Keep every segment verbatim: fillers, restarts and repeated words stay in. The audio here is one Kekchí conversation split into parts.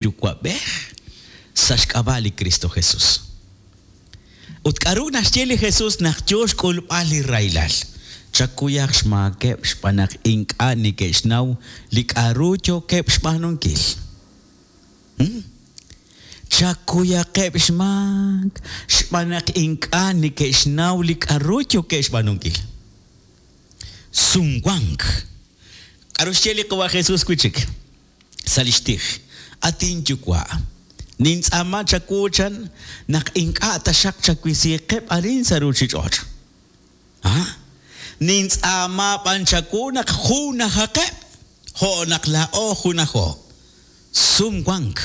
Yuwa'b'ej sa' xk'ab'a' li Kristo Jesus. Ut k'aru naxye li Jesus naq yo xk'ulb'al li rahilal? Chakuyaq xmaakeb' xb'aan naq ink'a' neke'xnaw li k'aru yookeb' xb'aanunkil. Hmm? Chakuyaqeb' xmaak xb'aan naq ink'a' neke'xnaw li k'aru yookeb' xb'aanunkil. Sumwank. K'aru xye li Qawa' Jesus wi' chik sa' li xtij? At inyuwa', nintz'aama chawu chan naq ink'a' taxaq chawisiiqeb' arin sa' ruuchich'och'. Ah? Nintz'aama b'an chawu naq junajaqeb' jo' naq laa'o junajo. Sumwank.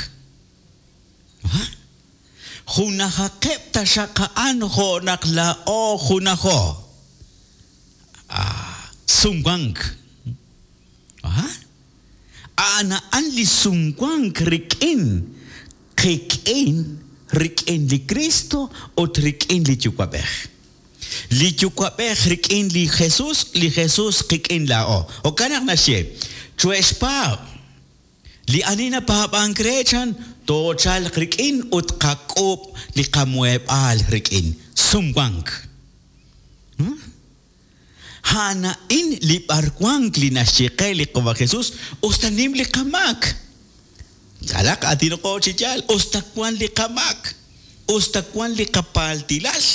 Ah? Junajaqeb' taxaq a'an jo' naq laa'o junajo. Ah, sumwank. Ah? A'an a'an li sumwank rik'in qik'in rik'in li Kristo ut rik'in li Yuwa'b'ej. Li Yuwa'b'ej rik'in li Jesus, li Jesus qik'in laa'o. Jo'kan naq naxye, chuhe'xpaab'. Li ani napaab'ank re chan toochalq rik'in ut qak'uub' li qamuheb'aal rik'in. Sumwank. Hmm? A'an a'in li b'arwank li naxye qe li Qawa' Jesus, us ta nim li qamaak. Kalaq aatinoqo chi yaal, us ta wan li qamaak, us ta wan li qapaaltilal.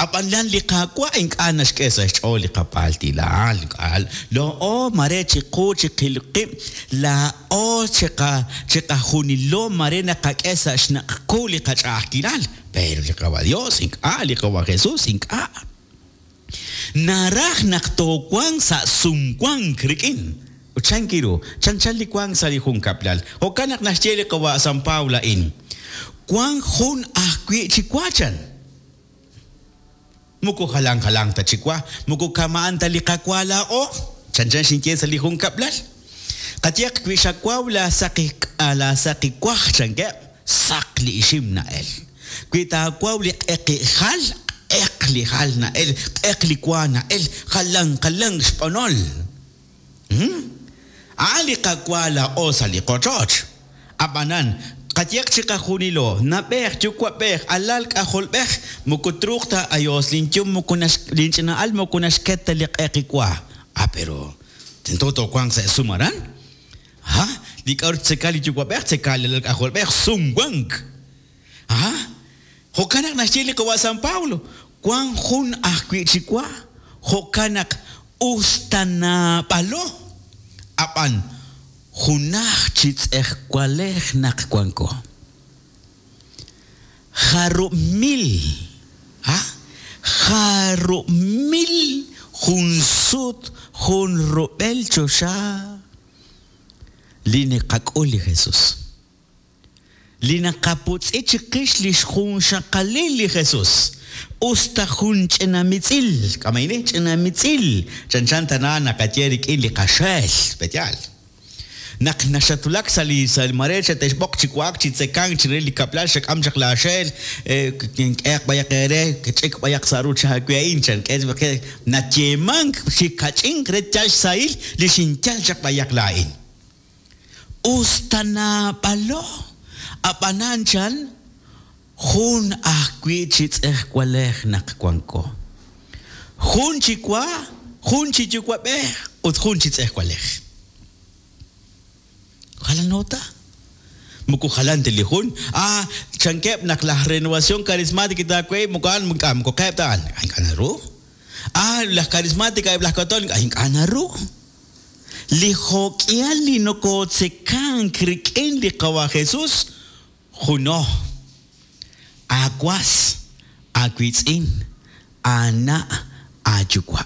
Ab'an lan li Qaawa' ink'a' naxk'e sa' xch'ool li qapaaltilal. Laa'o mare chiqu chiqil qib', laa'o chiqa chiqajunilo mare naqak'e sa' xnaq' qu li qach'a'ajkilal. Pero li Qawa' Dios ink'a', li Qawa' Jesus ink'a'. Naraj naq toowanq sa' sumwank rik'in. Ut chanki ru, chanchan li wank sa' li junkab'lal. Jo'kan naq naxye li Qawa' San Pablo a'in. Wank jun ajwi' chi wa chan. Moko jalan jalan ta chi wa, moko kama'an ta li qawa laa'o. Chanchan xinye sa' li junkab'lal. Qayehaq wi xawaw la saqi la saqi waj chankeb', saq li ixim na'el. Wi taawaw li q'eqi jal, q'eq li jal na'el, q'eq li wa na'el, jalan jalan xb'onol. Hmm? A'an li qawa laa'o sa' li qochoch. Ab'anan, qayehaq chiqajunilo, nab'ej, yuwa'b'ej, alal, k'ajolb'ej, moko truuq ta ayos linyum moko nax linch'ina'al moko naxket ta li q'eqi wa. Ah, pero tento toowanq sa' sum aran. Ha? Li k'aru ttzeka li yuwa'b'ej, tzeka li alal k'ajolb'ej, sumwank. Ha? Jo'kan naq naxye li Qawa' San Pablo, wank jun ajwi' chi wa, jo'kan naq us ta naab'alo, ab'an junaj chi tz'ejwalej naq wanko. Jarub' mil, ha? Jarub' mil jun sut jun rub'el choxa li naqak'ul li Jesus. Li naqaputz'i chiqix li xjunxaqalil li Jesus. Us ta jun ch'ina mitz'il, k'amayni ch'ina mitz'il, chanchan tana naqaye rik'in li qaxeel, pe'yaal. Naq naxatulak sa' li sa' li mare xate'xb'oq chi wa'ak chi tzekank chire li kab'lal xak'am chaq laaxeel, k'ehaq b'ayaq eere, ch'ik b'ayaq sa' ruuch aawe a'in, chan k'e nayeemank chi kach'inq re yal xsahil li xinyal chaq b'ayaq laa'in. Us ta naab'alo, ab'anan chan jun ajwi' chi tz'ejwalej naq wanko. Jun chi wa, jun chi yuwa'b'ej ut jun chi tz'ejwalej. Jalano ta. Moko jalan ta li jun. Ah, chankeb' naq la Renovación Carismática taawe moko a'an ink'a' moko qeeb' ta a'an. Ink'a' naru. Ah, laj Carismática eb' laj Católico ink'a' naru. Li jo'k'ihal li nokotzekank rik'in li Qawa' Jesus, juno. Aawas, aawiitz'in, aana', aayuwa'.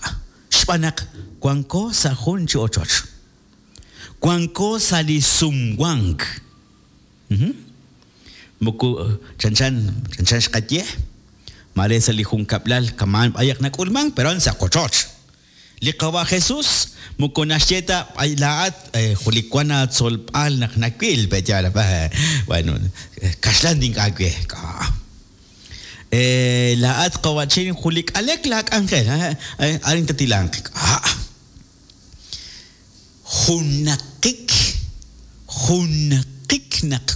Xb'aan naq wanko sa' jun chi ochoch. Wanko sa' li sumwank. Moko chanchan chanchan xqaye. Mare sa' li junkab'lal kama'an b'ayaq nak'ulmank, pero a'an sa' qochoch. Li Qawa' Jesus moko naxye ta laa'at julik wan aatzolb'al naq nawil, pe'yaal, bueno, kaxlan ink'a' we. Eh, laa'at qawa'chin julik alek laak'anjel, arin tatilanq. Ah. Junaqik, junaqik wanqik naq